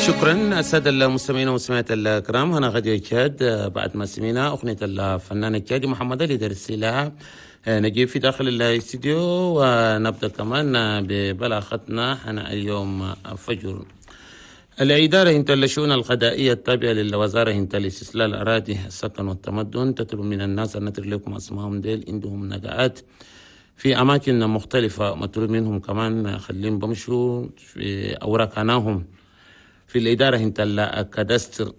شكرا السادة المستمعين والمستمعات الكرام. هنا غادي تشاد بعد ما سمعنا أغنية الفنان التشادي محمد علي درسي لها نجيب في داخل الاستديو، ونبدأ كمان ببلاغتنا هنا اليوم فجر. الإدارة انت الشؤون القضائية التابعة للوزارة انت الاستسلال الأراضي السكن والتمدن تطلب من الناس أن نترك لكم أسمائهم ديل عندهم نقعات في أماكن مختلفة، مطلوب منهم كمان خليهم بمشوا في أوراقناهم في الإدارة انت الكادستر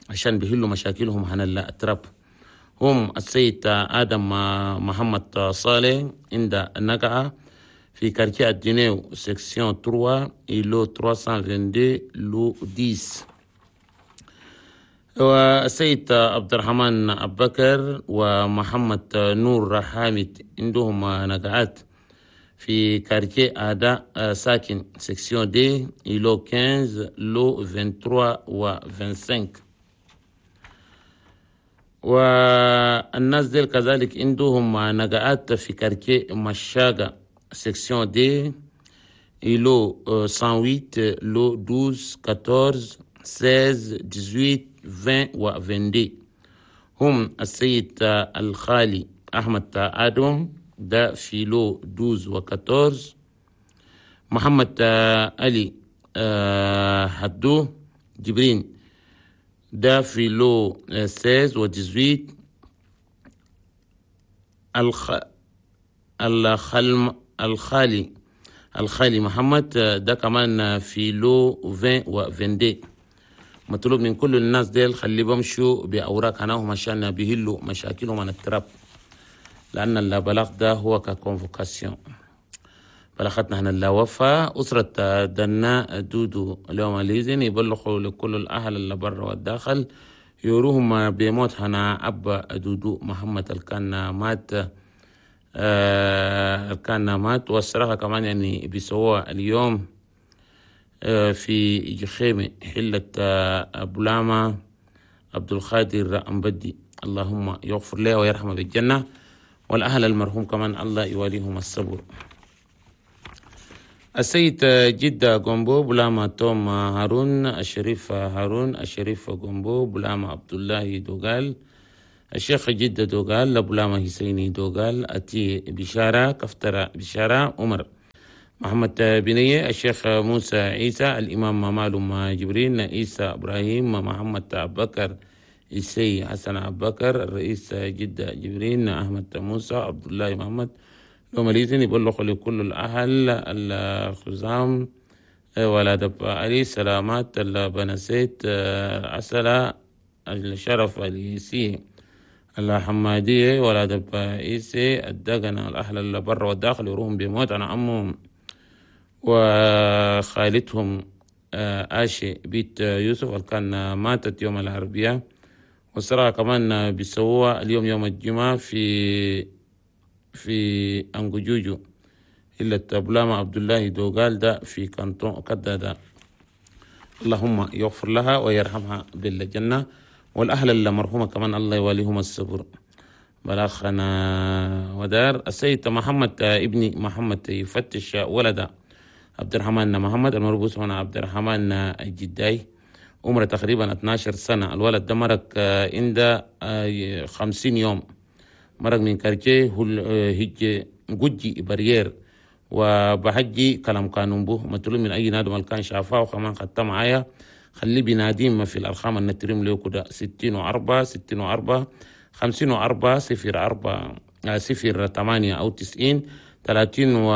عشان بيحلوا مشاكلهم هنا التراب. هم السيد آدم محمد صالح عند النقعة في quartier الدينيو section 3 îlot 322 lot 10، والسيد عبد الرحمن أبو بكر ومحمد نور حامد عندهم نقعات في quartier أداء ساكن section deux îlot 15 lot 23 و 25. والناس ديل كذلك عندهم نقعات في quartier مشاقة section deux îlot 108 lot 12 14 16 18 20 و 22. هم السيد الخالي أحمد آدم ده في lot 12 و 14، محمد علي حدو جبرين ده في lot 16 و 18، الخالي محمد ده كمان في lot 20 و 22. مطلوب من كل الناس ديل خلي بمشوا بأوراق هناهم عشان بيهلوا مشاكلهم عن التراب، لأن البلاغ ده هو ك convocation. بلغتنا هنا الوفاة أسرة دنا دودو اليوم الإذن يبلغوا لكل الأهل اللي برا والداخل يوروهم بموت هنا أب دودو محمد الكان مات، كان مات. والصراحة كمان يعني بيسووها اليوم في جخيمة حلة بولاما عبد القادر أمبدي، اللهم يغفر له ويرحمه بالجنة، والأهل المرحوم كمان الله يواليهم الصبر. السيد جدة جومبو بلاما توم هارون الشريف هارون الشريف جومبو بلاما عبد الله دوغال الشيخ جدة دوغال بلاما حسيني دوغال أتي بشارة كفترة بشارة عمر محمد بنية الشيخ موسى عيسى الإمام مالوم جبرين عيسى إبراهيم محمد أبو بكر إسي حسن أبو بكر الرئيس جدة جبرين أحمد موسى عبد الله محمد لو مليزين يبلغ لكل الأهل الخزام ولاد علي سلامات البنسيت عسلة الشرف اليسي الحمادية ولاد إيسي الدقنة الأهل اللي برا والداخل يروهم بموت أنا عمهم وخالتهم آشي بيت يوسف اللي كان ماتت يوم الأربعاء. والصراحة كمان بيسووها اليوم يوم الجمعة في أنجوجوجو إلا بلاما عبد الله دوغال ده في كانتون كدا ده، اللهم يغفر لها ويرحمها بالجنة، والأهل المرحومة كمان الله يواليهم الصبر. بلاخنا ودار السيد محمد ابني محمد يفتش ولده عبد الرحمن محمد المربوس هنا عبد الرحمن الجداي عمره تقريبا 12 سنة. الولد ده مرق عند 50 يوم، مرق من كارتيه هج جوجي بريير وبحجي كلام قانون به مطلوب من أي نادم كان شافاه وكمان خدته معايا خليه بناديم في الأرقام النتريم له كده 64 64 54 04 08 أو 90 30 و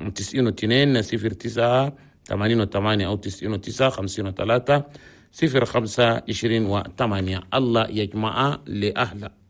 92 09 88 أو 99 53 05 28. الله يجمع لأهله.